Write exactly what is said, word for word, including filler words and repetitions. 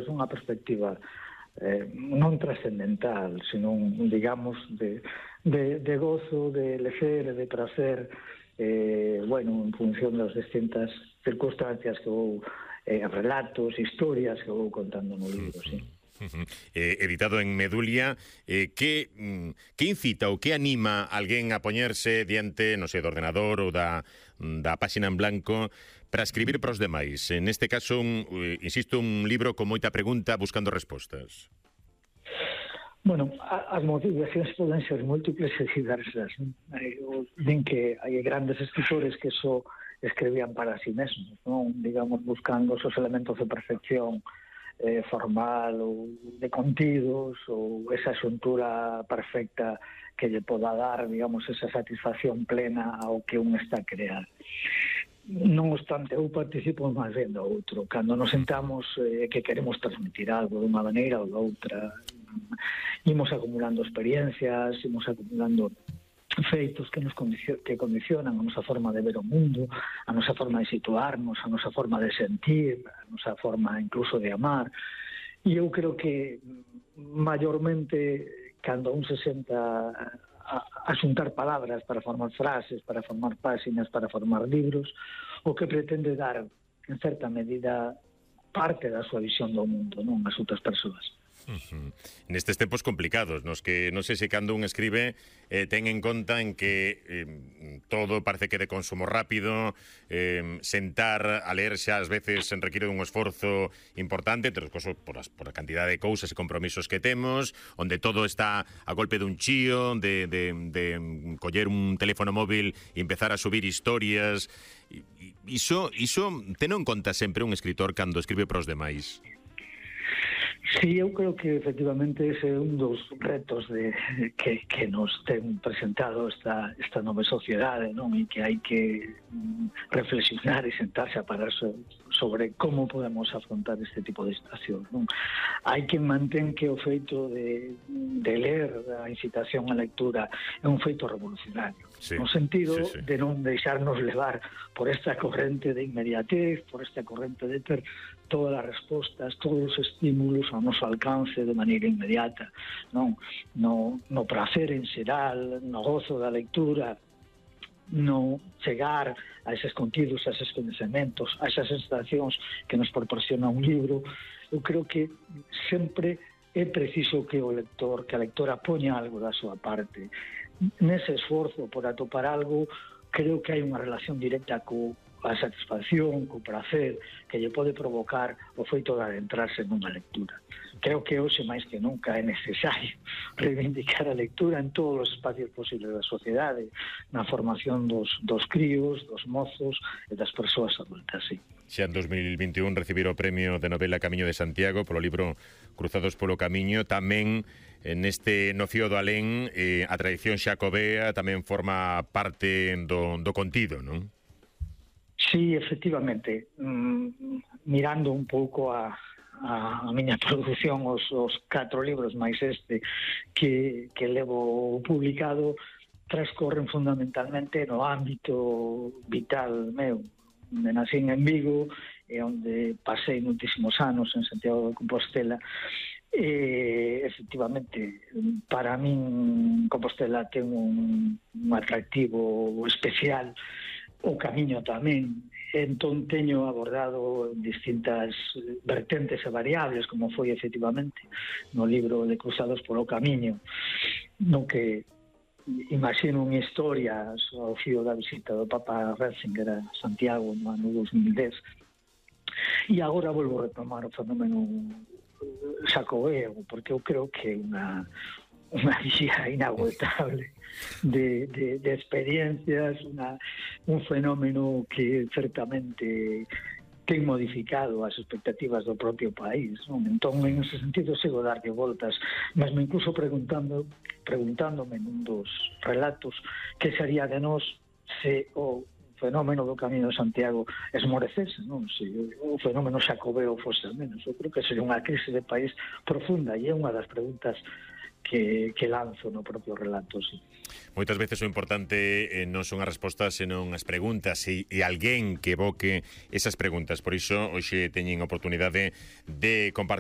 unha perspectiva eh, non trascendental, senón, digamos, de, de, de gozo, de lecer, de prazer, eh, bueno, en función das distintas circunstancias que vou, eh, relatos, historias que vou contando no libro, sí. Eh, editado en Medulia, eh, que, que incita ou que anima alguén a poñerse diante, non sei, do ordenador ou da, da páxina en blanco para escribir para os demais? En este caso, un, insisto, un libro con moita pregunta buscando respostas. Bueno, as motivacións poden ser múltiples e diversas. Din que hai grandes escritores que só escribían para si mesmos, non? Digamos, buscando os elementos de perfección eh, formal ou de contidos ou esa xuntura perfecta que lle poda dar, digamos, esa satisfacción plena ao que un está a crear. Non obstante, eu participo máis ben do outro. Cando nos sentamos eh, que queremos transmitir algo dunha maneira ou da outra, imos acumulando experiencias, imos acumulando feitos que nos condicio que condicionan a nosa forma de ver o mundo, a nosa forma de situarnos, a nosa forma de sentir, a nosa forma incluso de amar. E eu creo que maiormente cando un se senta a, a xuntar palabras para formar frases, para formar páxinas, para formar libros, o que pretende dar en certa medida parte da súa visión do mundo, non as outras persoas. Uh-huh. Nestes tempos complicados, nos que non sei se cando un escribe eh, ten en conta en que eh, todo parece que de consumo rápido, eh, sentar a ler xa ás veces requiere un esforzo importante, entre os cosos por, as, por a cantidad de cousas e compromisos que temos, onde todo está a golpe dun chío, de, de, de coller un teléfono móvil e empezar a subir historias. Iso, iso ten en conta sempre un escritor cando escribe para os demais? Sí, eu creo que efectivamente ese é un dos retos de, que, que nos ten presentado esta, esta nova sociedade, non? E que hai que reflexionar e sentarse a parar so, sobre como podemos afrontar este tipo de situacións, non? Hai que mantén que o feito de, de ler, a incitación á lectura, é un feito revolucionario, sí, no sentido sí, sí. de non deixarnos levar por esta corrente de inmediatez, por esta corrente de ter todas as respostas, todos os estímulos ao noso alcance de maneira inmediata, non? No, no prazer en xeral, no gozo da lectura, no chegar a eses contidos, a eses coñecementos, a esas sensacións que nos proporciona un libro. Eu creo que sempre é preciso que o lector, que a lectora poña algo da súa parte. Nese esforzo por atopar algo, creo que hai unha relación directa co a satisfacción, co prazer que lle pode provocar o feito de adentrarse nunha lectura. Creo que hoxe máis que nunca é necesario reivindicar a lectura en todos os espacios posibles da sociedade, na formación dos, dos críos, dos mozos e das persoas adultas, sí. Xa en dos mil vinte e un recibir o premio de novela Camiño de Santiago polo libro Cruzados polo Camiño. Tamén neste Nocio do Alén eh, a tradición xacobea tamén forma parte do, do contido, non? Sí, efectivamente, mm, mirando un pouco a, a, a miña produción, os, os catro libros máis este que, que levo publicado, transcorren fundamentalmente no ámbito vital meu. Me nacín en Vigo, e onde pasei muitísimos anos en Santiago de Compostela. E, efectivamente, para min Compostela ten un, un atractivo especial, o camiño tamén. Entón teño abordado distintas vertentes e variables, como foi efectivamente no libro de Cruzados polo Camiño, no que imagino unha historia ao fío da visita do Papa Ratzinger a Santiago no ano dos mil dez. E agora volvo a retomar o fenómeno xacobeo, porque eu creo que é unha unha vía inagotable de, de, de experiencias, una, un fenómeno que certamente ten modificado as expectativas do propio país, non? Entón, en ese sentido, sigo a darlle voltas, mesmo incluso preguntando, preguntándome nun dos relatos que sería de nós se o fenómeno do Camiño de Santiago esmorecese, non? Se o fenómeno xacobeo fose al menos. Eu creo que sería unha crise de país profunda, e é unha das preguntas que, que lanzo no propio relato, sí. Moitas veces o importante eh, non son as respostas, senón as preguntas e, e alguén que evoque esas preguntas. Por iso, hoxe teñen a oportunidade de compartir